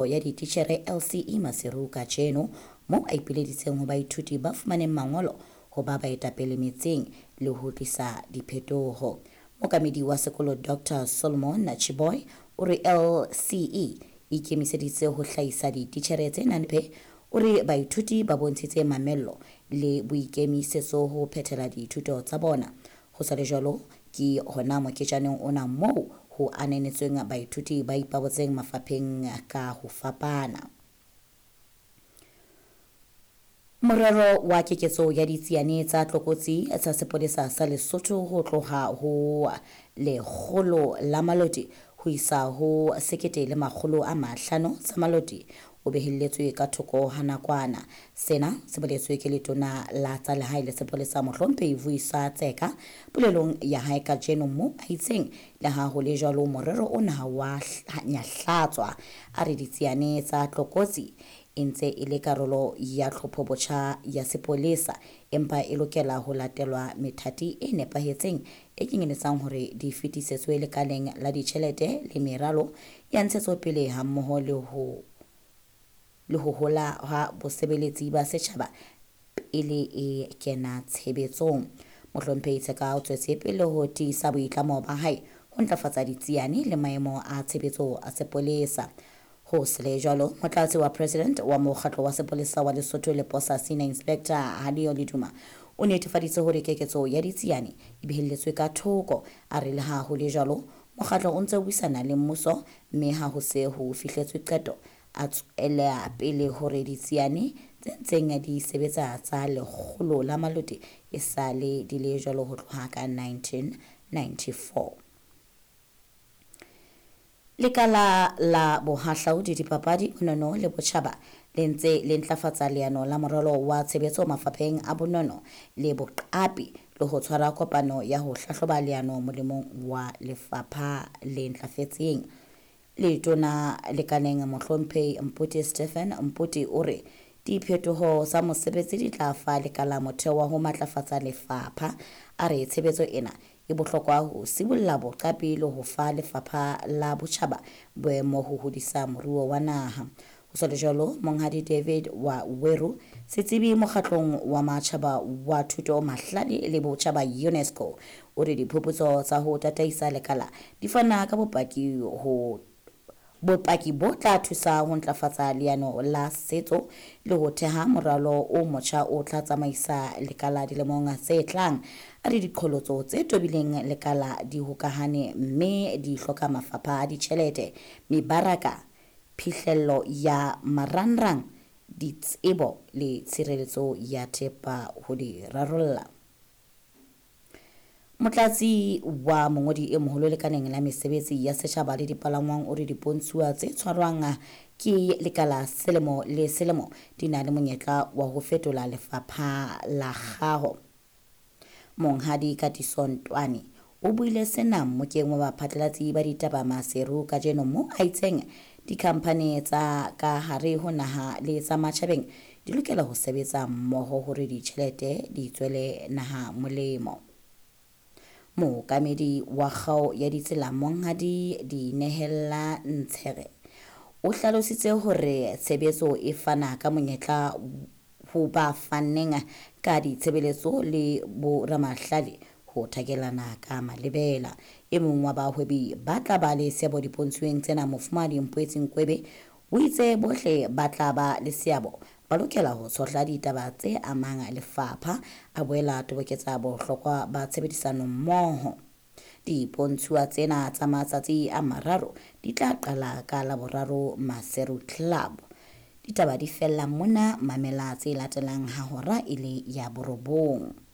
Ya dititjhere LCE Maseru kajeno moo a ipileditseng ho baithuti ba fumaneng mangolo ho ba baetapele metseng le ho tlisa diphetoho. Mookamedi wa sekolo Doctor Solomon Chiboy o re LCE e ikemiseditse ho hlahisa dititjhere tse nang le o re baithuti ba bontshitse mamello le boikemisetso ho phethela dithuto tsa bona. Ho sa le jwalo, ke hona moketjaneng ona moo ho ananetsweng baithuti ba ipabotseng mafapheng ka ho fapana. Morero wa keketso ya ditsiane tsa tlokotsi tsa sepolesa sa Lesotho ho tloha ho 100 la maloti ho isa ho 1500 tsa maloti o behelletswe ka thoko ha nakwana. Sena se boletswe ke letona la tsa lehae le sepolesa Mohlomphehi Vuyiswa Tseka polelong ya hae kajeno moo a itseng le ha ho le jwalo morero ona wa nyahlatswa. A re ditsiane tsa tlokotsi e ntse e le karolo ya tlhopho botjha ya sepolesa empa e lokela ho latelwa methati e nepahetseng e kenyeletsang hore di fetisetswe lekaleng la ditjhelete le meralo ya ntshetsopele hammoho le ho le ho hola ha bosebeletsi ba setjhaba pele e kena tshebetsong. Mohlomphehi Tseka o tswetse pele ho tiisa boitlamo ba hae ho ntlafatsa ditsiane le maemo a tshebetso a sepolesa. Ho sele jwalo, motlatsi wa president wa mokgatlo wa sepolesa wa Lesotho le Posa Senior Inspector Halio Leduma o netefaditse hore keketso ya ditsiane e behelletswe ka thoko. A re le ha ho le jwalo, mokgatlo o ntse o buisana le mmuso mme ha ho se ho fihletswe qeto a tswela pele hore ditsiane tse ntseng di sebetsa tsa 100 la maloti e sale di le jwalo ho tloha ka 1994. Lekala la bohahlaudi, dipapadi, bonono le botjhaba le ntse le ntlafatsa leano la moralo wa tshebetso mafapheng a bonono le boqapi le ho tshwara kopano ya ho hlahloba leano molemong wa lefapha le ntlafetseng. Letona lekaleng Mohlomphehi Mpoti Stephen Mpoti o re diphetoho tsa mosebetsi di tla fa lekala motheo wa ho matlafatsa lefapha. A re tshebetso ena e bohlokwa ho sibolla boqapi le ho fa lefapha la botjhaba boemo ho hodisa moruo wa naha. Ho sa le jwalo, Monghadi David wa Weru, setsebi mokgatlong wa matjhaba wa thuto mahlale le botjhaba UNESCO, o re diphuputso tsa ho tataisa lekala di fana ka bopaki ho bopaki bo tla thusa ho ntlafatsa leano la setso le ho theha moralo o motjha o tla tsamaisa lekala dilemong tse tlang. A re diqholotso tse tobileng lekala di hokahane mme di hloka mafapha a ditjhelete, mebaraka, phihlello ya marangrang, ditsebo le tshireletso ya thepa ho di rarolla. Motlatsi wa mongodi e moholo lekaleng la mesebetsi ya setjhaba le dipalangwang o re dipontshuwa tse tshwarwang ke lekala selemo le selemo di na le monyetla wa ho fetola lefapha la kgaho. Monghadi Katiso Ntwane o buile sena mmokeng wa baphatlalatsi ba ditaba Maseru kajeno moo a itseng dikhamphani tsa ka hare ho naha le tsa matjhabeng di lokela ho sebetsa mmoho hore ditjhelete di tswele naha molemo. Mookamedi wa kgao ya ditsela Monghadi Dinehella Ntshere o hlalositse hore tshebetso e fana ka monyetla ho ba fanneng ka ditshebeletso le boramahlale ho thakelana ka malebela. E mong wa bahwebi ba tla ba le seabo dipontshweng tsena Mofumahadi Mpoetsi Nkwebe o itse bohle ba tla ba le seabo ba lokela ho tshohla ditaba tse amang lefapha, a boela toboketsa bohlokwa ba tshebedisano mmoho. Dipontshuwa tsena tsa matsatsi a mararo di tla qala ka Laboraro Maseru Club. Ditaba di fella mona, mamela tse latelang ha hora e le ya 9.